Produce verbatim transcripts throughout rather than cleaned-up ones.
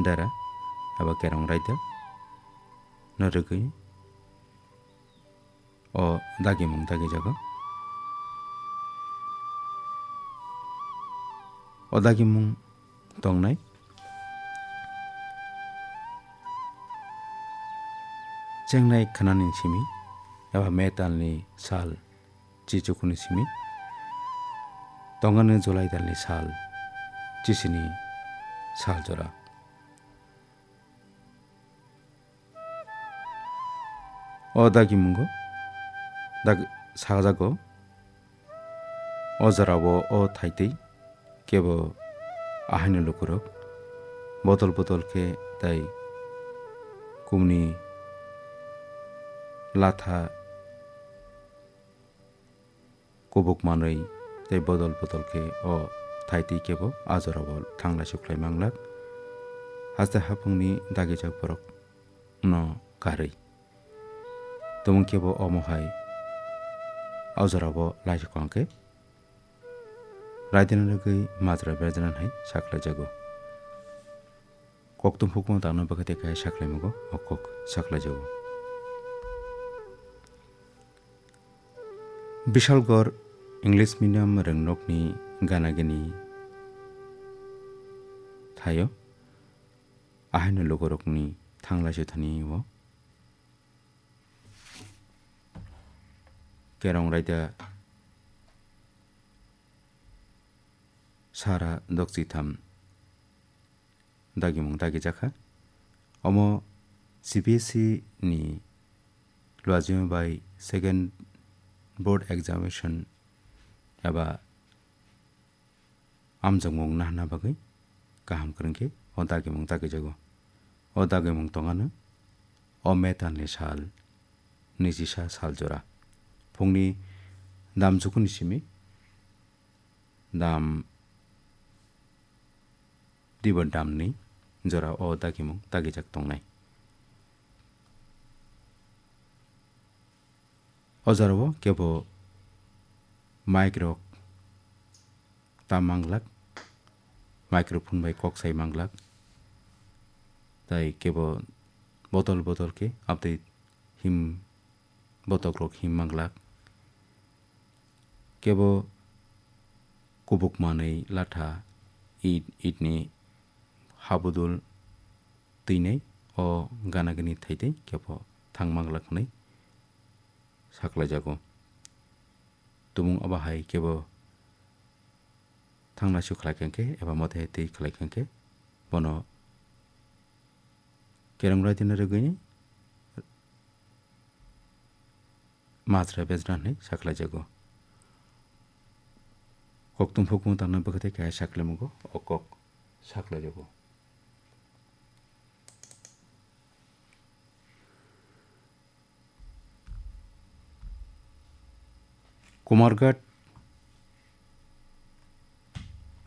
dara eba kerong raida no rwgwi o dagimung dagijago. O dagimung tongnai chengnai khnani simi eba May talni sal chichukuni simi tongani July talni sal chisini sal jora. O dagimungo dag-, sajago. O jorao o thaitwi kebo ahaino lukurok botol botol khe tai kumni latha kubuk manwi tei bodol bodol khe o thaitwi kebo a jorao thanglaisuk khlai manglak. Haste haphungni dagijak borok no karwi tumung kebo omo hai a jorao laisuk khe raidina rwgwi majra berjana hai saklaijago. Kokthum hukma tangna bagwi tei kaya saklaimago o kok saklaijago. Bishalgarh English medium rwngnokni gana gini thaio ahaino lugurokni thanglai suthani o kerong raida sara dokchitham dagimung dagijakha. Omo C B S E ni luajima bai second board examination eba amjokmung nahna bagwi kaham kwrwng khe o dagimung dagijago. O dagimung tongano o May talni sal nijisa sal jora phungni dam jukuni simi dam dibo damni jora o dagimung dagijak tongnai. O jorao kebo mic rok tam manglak, microphone bai kok sai manglak, tai kebo botol botol khe abtwi him botok rok him manglak. Kebo kubuk manwi latha it, itni habudul twinai o gana gini thaitwi kebo thang manglak hwnwi saklaijago. Tumung abo hai kebo thangna su khlai khe eba mote hai twi khlai khe bono kerong raidina rwgwini majra bejra hinwi saklaijago. Kokthum hukmung tangna bwkhatai kaya saklaimungo o kok saklaijago. Kumarghat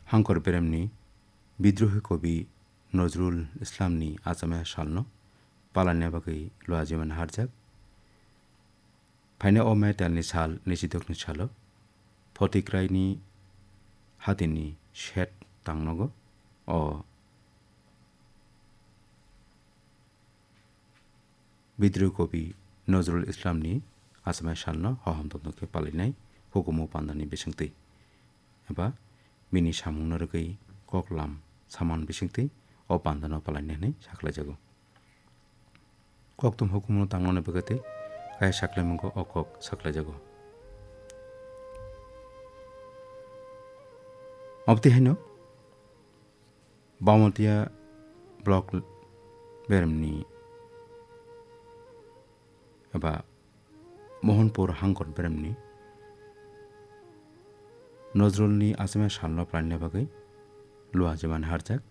Hangkor Beremni bidrohi kobi Nozrul Islamni achama salno palaina bagwi luajiman harjak. Phaina o May talni sal nijidokni salo Photikraini hatini shet tangnogo o bidrohi kobi Nozrul Islamni achama salno hohom tongtong khe palainai hukumu pandani bisingtwi eba bini samungno rwgwi koklam saman bisingtwi o pandano palainai hwnwi saklaijago. Kokthum hukumu tangmani bagwi tei kaya saklaimungo o kok saklaijago. Obtwi haino Bamatia block beremni eba Mohanpur Hangkor beremni Nozrulni achama salno palaina bagwi luajiman harjak.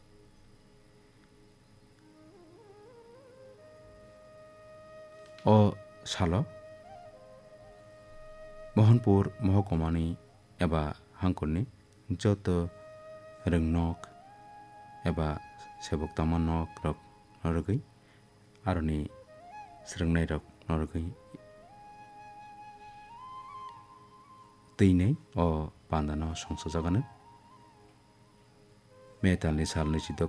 O salo Mohanpur mohokmani eba Hangkorni joto rwngnok eba sebok tangma nok rok norogwi aroni swrwngnairok norogwi twinai o pandano songchajak anw. May talni sal nwichidok